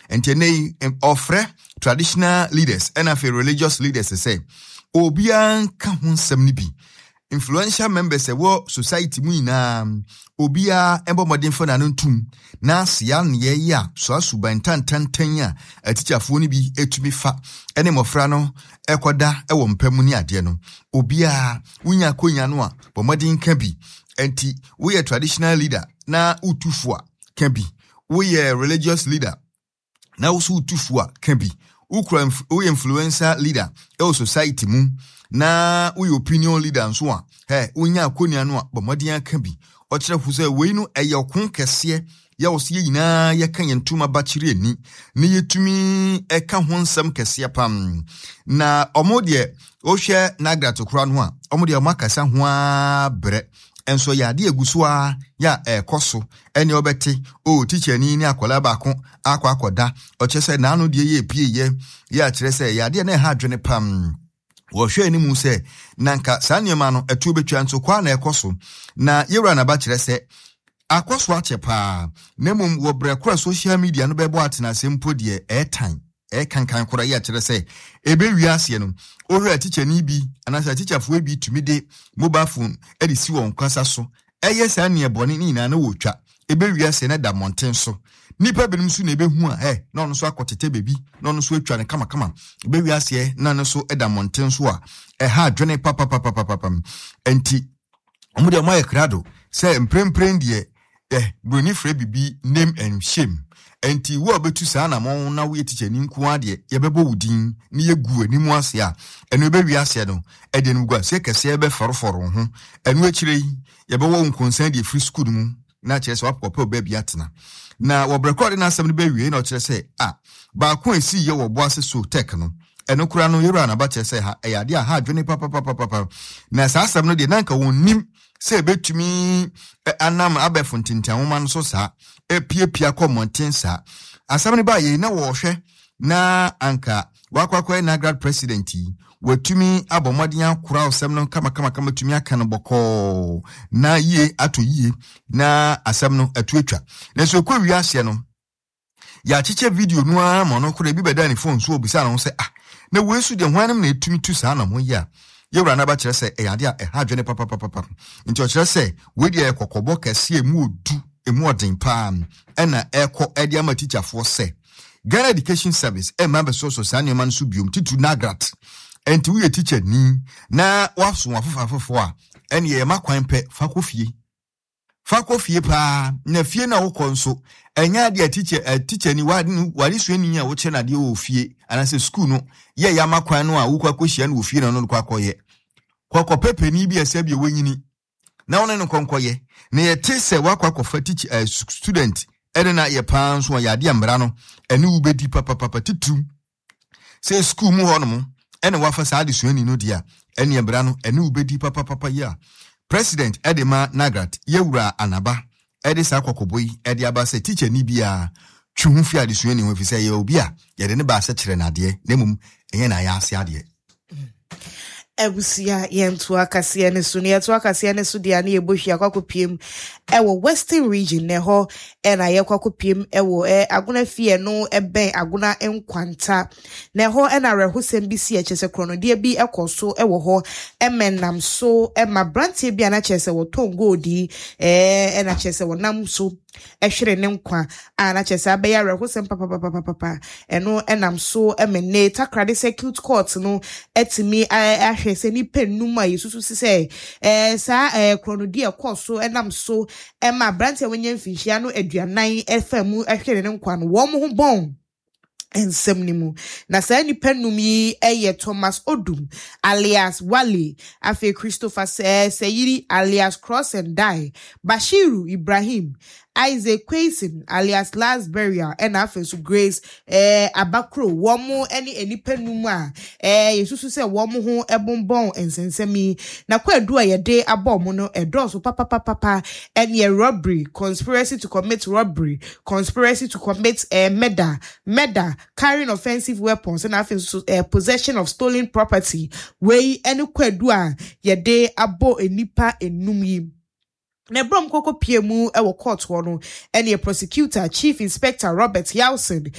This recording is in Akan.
Nti ɛnɛ yi ɔfrɛ traditional leaders ɛna afei religious leaders sɛ obiara nka ho nsɛm no bi. Influential members ɛwɔ society mu nyinaa, obiara ɛbɔ mmɔden fa n'ano ntum na sea nneyɛɛ yi a soa suban tantantan a atikyafoɔ no bi ɛtumi fa ɛne mmɔfra no ɛkɔda ɛwɔ mpa mu ne adeɛ no. Obiara wonya akonya no a, bɔ mmɔden ka bi. Ɛnti woyɛ traditional leader na wotu fo a, ka bi. Woyɛ religious leader na wo so wotu fo a, ka bi. Wokura woyɛ influencer leader ɛwɔ society mu na woyɛ opinion leader nso a, hɛ wonya akonnwa no a, bɔ mmɔden aka bi. Ɔkyerɛ fo sɛ wei no ɛyɛ ɔko kɛseɛ yɛ wɔ so yɛ nyinaa yɛka yɛn ntoma bakyere ani na yɛtumi ɛka ho nsɛm kɛseɛ pam. Na ɔmo deɛ wohwɛ Nagrat kora no a, ɔmo deɛ ɔmo akasa ho ara brɛ. Nso yɛ adeɛ egu so ara yɛ a ɛrekɔ so. Ɛne ɔbɛte, o tikyani ne akwadaa baako akɔ akɔda. Ɔkyerɛ sɛ n'ano deɛ yɛ epie yɛ, yɛ akyerɛ sɛ yɛ adeɛ na ɛha adwene pam. Wɔhwɛ anim sɛ na nka saa nneɛma no ɛtoɔ bɛtwa nso kɔ a na ɛkɔ so. Na yɛwura naba kyerɛ sɛ akɔ so akyɛ paa, na mmom wɔ berɛ koro a social media no bɛbɔ atenase mpo deɛ ɛɛtan. Ɛkankan koraa yi akyerɛ sɛ ɛbɛwie aseɛ no, wohwɛ a tikyani bi anaasɛ atikyafoɔ bi tumi de mobile phone de si wɔn kasa so ɛyɛ saa nneɛ bɔne ne nyinaa na wɔtwa. Ɛbɛwie aseɛ no da mmɔnten so. Nnipa binom nso na ɛbɛhu a ɛ na ɔno nso akɔtetɛ baabi na ɔno nso atwa no kamakama. Ɛbɛwie aseɛ na no nso da mmɔnten so a ɛha adwene papapapapapa. Nti wɔn deɛ wɔayɛ krado sɛ mprempren deɛ eh, buroni frɛ biribi name and shame. Nti wo a wobɛtu saa anamɔn na woyɛ tikyani nko ara deɛ yɛbɛbɔ wo din na yɛgu w'anim ase a ɛno ɛbɛwie aseɛ no ɛde animguaseɛ kɛseɛ bɛfɔrefɔre wo ho. Ɛno akyire yi yɛbɛwɔ wo nkonsan de afiri sukuu no mu na kyerɛ sɛ wakɔpɛ wo baabi atena. Na wɔ berɛ korɔ ɔde n'asɛm no bɛwie na ɔkyerɛ sɛ a baako a ɛsii yɛ wɔ Boase so tech no ɛno koraa no yɛwura naba kyerɛ sɛ ha ɛyɛ adeɛ a ha adwene papapapapa. Na saa asɛm no deɛ na anka wɔnnim sɛ ɛbɛtumi anam abɛɛfo ntentanwoma no so saa apiapia kɔ mmɔnten saa. Asɛm no baa yei na wɔrehwɛ na anka wakɔ akɔyɛ NAGRAD president yi, watumi abɔ mmɔden akora asɛm no kamakamakama, tumi aka no bɔkɔɔ na yie atɔ yie na asɛm no ɛto atwa. Nanso ɛkɔ wie aseɛ no, yɛakyekyɛ video no ara ma ɔno koraa ebi bɛda ne phone so obisa ne ho sɛ ah, na wei so deɛ hwan nom na ɛtumi tu saa na mo yi a yɛwura no aba kyerɛ sɛ ɛyɛ adeɛ a ɛha adwene papapapapa. Nti ɔkyerɛ sɛ wei deɛ ɛyɛ kɔkɔbɔ kɛseɛ emu odu emu ɔden paa ɛna ɛkɔ ɛde ama tikyafoɔ sɛ Ghana Education Service ɛmma bɛsɔsɔ saa nneɛma no so biom, titiriw NAGRAT. Ɛnti woyɛ tikya ni na woaso afoforo afoforo a, ɛne ɛma kwan pɛ fa kɔ fie. Fa kɔ fie paa, na fie na wokɔ nso, ɛnyɛ adeɛ a tikya eh, tikya ni w'adesuani a wokyerɛ no adeɛ wɔ fie anaasɛ sukuu no yɛ yɛ ama kwan no a wokɔ akɔhyia no wɔ fie na ɔno no kɔ akɔyɛ. Kɔkɔpɛ panin bi a sɛ bi wanyini na wo ne no nkɔnkɔyɛ na yɛte sɛ woakɔ akɔfa teach uh, student ɛne na yɛ paa nso a yɛade mmara no ɛne wo bɛdi papapapa, titiriw sɛ sukuu mu hɔ nom ɛne wafa saa adesuani no deɛ a ɛne mmara no ɛne wo bɛdi papapapa yi a president ɛde ma Nagrat yɛwura Anaba ɛde saa kɔkɔbɔ yi ɛde aba sɛ teacher ni biara twe ho fi adesuani ho ɛfiri sɛ ɛyɛ obi a yɛde ne baa sɛ kyerɛ no adeɛ na mmom ɛnyɛ na ayɛ ase adeɛ. Abusua, yɛnto akaseɛ no so. Na yɛto akaseɛ no so deɛ a, na yɛbɔ hwi akɔ akɔpiem ɛwɔ Western Region. Na ɛhɔ ɛna yɛkɔ akɔpiem ɛwɔ ɛ Agona fie no ɛbɛn Agona Nkwanta. Na ɛhɔ ɛna awerɛhosɛm bi si, ɛkyɛ sɛ korɔnodeɛ bi ɛkɔ so ɛwɔ hɔ ɛmɛ nam so ɛma aberanteɛ bi a na kyerɛ sɛ wɔtɔn gold yi ɛɛ ɛna kyerɛ sɛ wɔnam so hwere ne nkwa a na kyerɛ sɛ abɛyɛ awerɛhosɛm papapapapapa. Ɛno nam so ma nnɛ Takoradi Circuit Court no atumi ahwɛ sɛ nnipa nnum a yɛsusu sɛ saa korɔnodi a ɛkɔɔ so nam so ma aberante a wanya mfinhyia no 40 fa mu hwere ne nkwa no, wɔn ho bɔn nsɛm no mu. Na saa nnipa nnum yi yɛ Thomas Odum alias Wale, afei Christopher Seyiri alias Cross and Die, Bashiru Ibrahim, Isaac Quayson alias Last Burial, ɛna afei nso Grace eh, Abakuro. Wɔn ne nnipa nnum a eh, yɛsusu sɛ wɔn ho bonbɔn nsɛnsɛm yi. Na kwaadu a yɛde abɔ wɔn no ɛdɔɔso papapapapa, ɛneɛ robbery, conspiracy to commit robbery, conspiracy to commit murder, murder, carrying offensive weapons, ɛna afei nso possession of stolen property. Wei ne kwadu a yɛde abɔ nnipa enum yi. Na ɛberɛ a wɔkɔkɔ pie mu wɔ court hɔ no, ɛneɛ prosecutor Chief Inspector Robert Yawson